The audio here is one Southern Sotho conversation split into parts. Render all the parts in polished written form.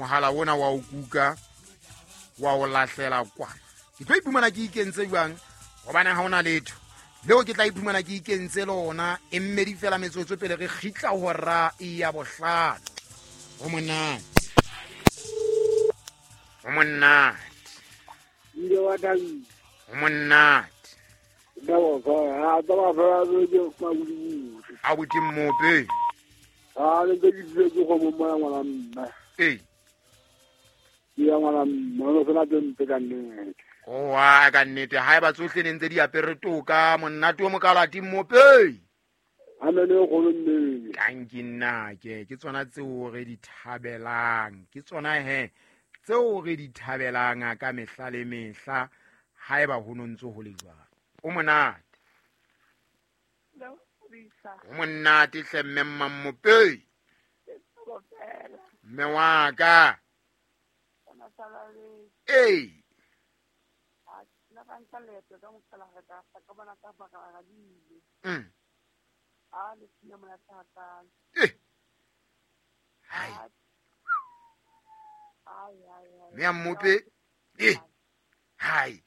Mohala ona wa o kuka wa o lahlela kwana. Ke tlo iphumana ke ikentse jwang, gobane ga ona letho leo ke tla iphumana ke ikentse lona. E mmedi fela metsotso pele re kgitla hora ya bohlano. Go monate, go monate, go monate. A botse mmope. A ne ke ke ke go mo ngwana mme. Ee. Ya ngwana mme, o sena tse mpe ka nnete. Oa ka nnete, ha eba tsohle ne ntse di apere toka, monate o mokalati mmope. Amene e kgolo nnete. Tanki nnake, ke tsona tseo re di thabelang, ke tsona he tseo re di thabelang ka mehla le mehla. Ha eba ho no ntse ho le jwalo. O monate. O monate hle mme Mmamope. Mme wa ka. Ee. Eh. Hai. Mme Mmope. Eh. Hai.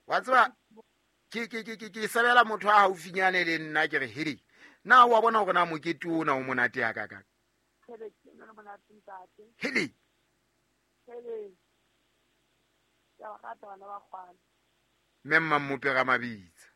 Wa tseba ke sebela motho a haufinyane le nna, ke re hedi na wa bona hore na mokete ona o monate ya ka. Hedi. Mme Mmamope ga mabitsa.